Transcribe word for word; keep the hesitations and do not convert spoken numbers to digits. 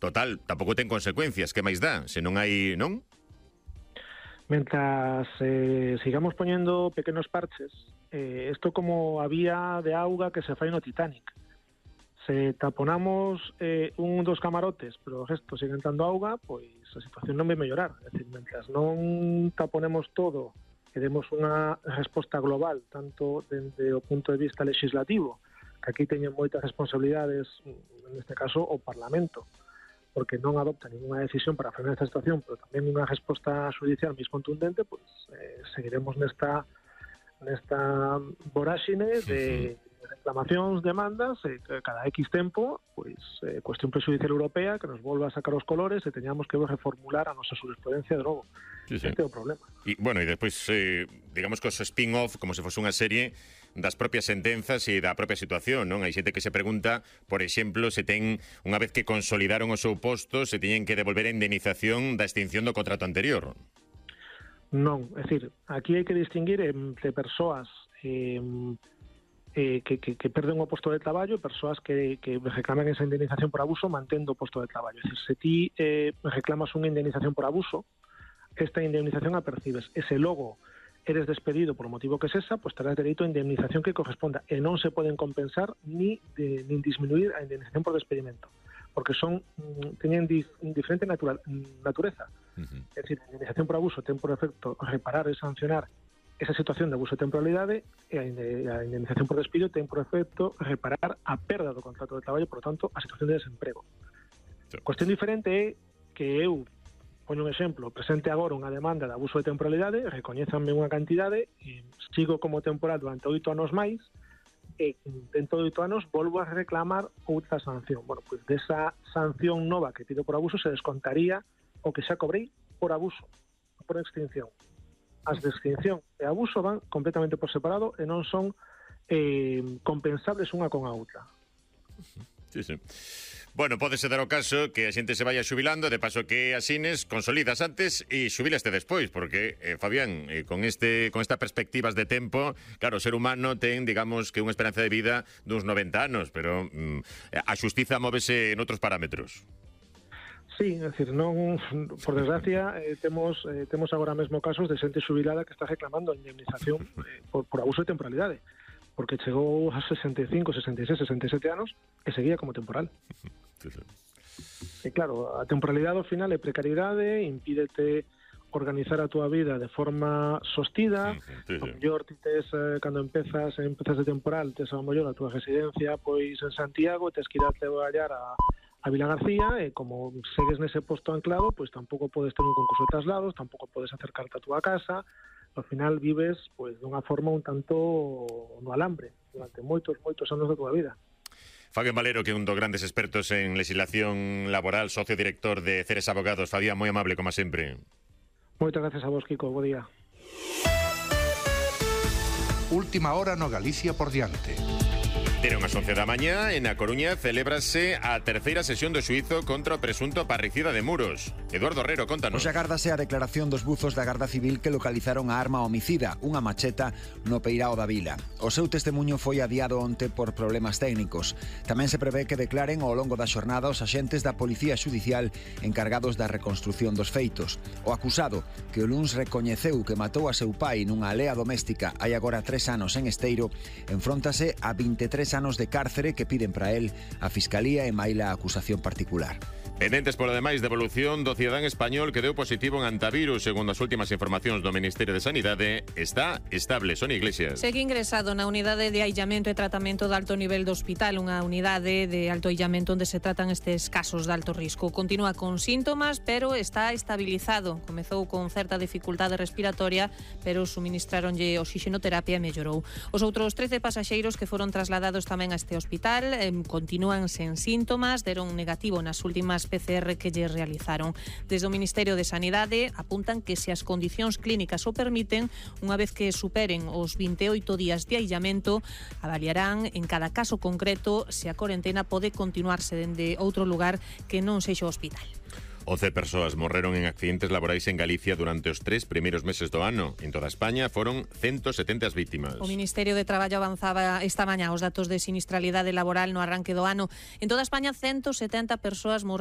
total, tampouco ten consecuencias, que máis dá, se non hai, non? Mentras eh, sigamos poñendo pequenos parches, eh, isto como a vía de auga que se fai no Titanic. Se taponamos eh, un dos camarotes, pero o resto sigue entrando auga, pois a situación non vai mellorar. É dicir, mentras non taponemos todo e demos unha resposta global, tanto dende o punto de vista legislativo, que aquí teñen moitas responsabilidades, neste caso o Parlamento, porque non adopta ninguna decisión para frenar esta situación, pero tamén unha resposta judicial máis contundente, pois eh, seguiremos nesta nesta voráxine de reclamacións, demandas, e cada X tempo, pois eh, cuestión prexudicial europea que nos volva a sacar os colores e teñamos que reformular a nosa jurisprudencia de novo. Sí, sí. Este é o problema. E, bueno, e despois, eh, digamos que os spin-off, como se fose unha serie das propias sentenzas e da propia situación, non? Hai xente que se pregunta, por exemplo, se ten, unha vez que consolidaron o seu posto, se teñen que devolver a indemnización da extinción do contrato anterior. Non, é dicir, aquí hai que distinguir entre persoas eh, eh, que, que, que perden o posto de traballo e persoas que, que reclaman esa indemnización por abuso mantendo o posto de traballo. É dicir, se ti eh, reclamas unha indemnización por abuso, esta indemnización a percibes. E se logo eres despedido por o motivo que sesa, pois terás dereito a indemnización que corresponda e non se poden compensar ni, de, ni disminuir a indemnización por despedimento, porque son teñen dif, diferente natura, natureza. Uh-huh. É dicir, a indemnización por abuso ten por efecto reparar e sancionar esa situación de abuso de temporalidade e a indemnización por despido ten por efecto reparar a perda do contrato de traballo, por lo tanto, a situación de desemprego. Sí. Cuestión diferente é que eu poño un exemplo, presente agora unha demanda de abuso de temporalidade, recoñézanme unha cantidade, e sigo como temporal durante oito anos máis, e dentro de oito anos volvo a reclamar outra sanción. Bueno, pois desa sanción nova que pido por abuso se descontaría o que xa cobrei por abuso, por extinción. As de extinción e abuso van completamente por separado e non son eh, compensables unha con a outra. Sí, sí. Bueno, pódese dar o caso que a xente se vaya xubilando, de paso que asines, consolidas antes e xubilaste despois, porque, eh, Fabián, eh, con este con estas perspectivas de tempo, claro, o ser humano ten, digamos, que unha esperanza de vida duns noventa anos, pero mm, a xustiza móvese en outros parámetros. Sí, é dicir, non, por desgracia, eh, temos eh, temos agora mesmo casos de xente xubilada que está reclamando a indemnización eh, por, por abuso de temporalidade, porque chegou a sesenta e cinco, sesenta e seis, sesenta e sete anos e seguía como temporal. Sí, sí. E claro, a temporalidade ao final é precariedade, impídete organizar a túa vida de forma sostida. Sí, sí. A mellor ti tes, eh, cando empezas empezas de temporal, tes a mellor a túa residencia pois en Santiago, tes que ir a traballar a, a Vila García, e como segues nese posto anclado, pois tampouco podes ter un concurso de traslados, tampouco podes acercarte a túa casa. Ao final vives pois dunha forma un tanto no alambre durante moitos, moitos anos da túa vida. Fabián Valero, que é un dos grandes expertos en legislación laboral, socio director de Ceres Abogados. Fabián, moi amable, como sempre. Moitas gracias a vos, Kiko. Bo día. Última hora no Galicia por diante. Deron as once da mañá, e na Coruña celébrase a terceira sesión do xuízo contra o presunto parricida de Muros. Eduardo Herrero, contanos. Hoxe agárdase a declaración dos buzos da Garda Civil que localizaron a arma homicida, unha macheta, no Peirao da Vila. O seu testemunho foi adiado onte por problemas técnicos. Tamén se prevé que declaren ao longo da xornada os axentes da Policía Xudicial encargados da reconstrución dos feitos. O acusado, que o luns recoñeceu que matou a seu pai nunha alea doméstica hai agora tres anos en Esteiro, enfróntase a vinte e tres anos de cárcere que piden para él a Fiscalía e maila a acusación particular. Pendentes polo demais de evolución do cidadán español que deu positivo en antivirus, segundo as últimas informacións do Ministerio de Sanidade, está estable. Sonia Iglesias. Segue ingresado na unidade de aillamento e tratamento de alto nivel do hospital, unha unidade de alto aillamento onde se tratan estes casos de alto risco. Continúa con síntomas, pero está estabilizado. Comezou con certa dificultade respiratoria, pero suministraronlle oxixenoterapia e mellorou. Os outros trece pasaxeiros que foron trasladados tamén a este hospital eh, continúan sen síntomas, deron negativo nas últimas P C R que lle realizaron. Desde o Ministerio de Sanidade apuntan que se as condicións clínicas o permiten, unha vez que superen os vinte e oito días de aillamento, avaliarán en cada caso concreto se a corentena pode continuarse dende outro lugar que non sexa o hospital. once persoas morreron en accidentes laborais en Galicia durante os tres primeiros meses do ano. En toda España foron ciento setenta as vítimas. O Ministerio de Traballo avanzaba esta mañá os datos de sinistralidade laboral no arranque do ano. En toda España ciento setenta persoas morreron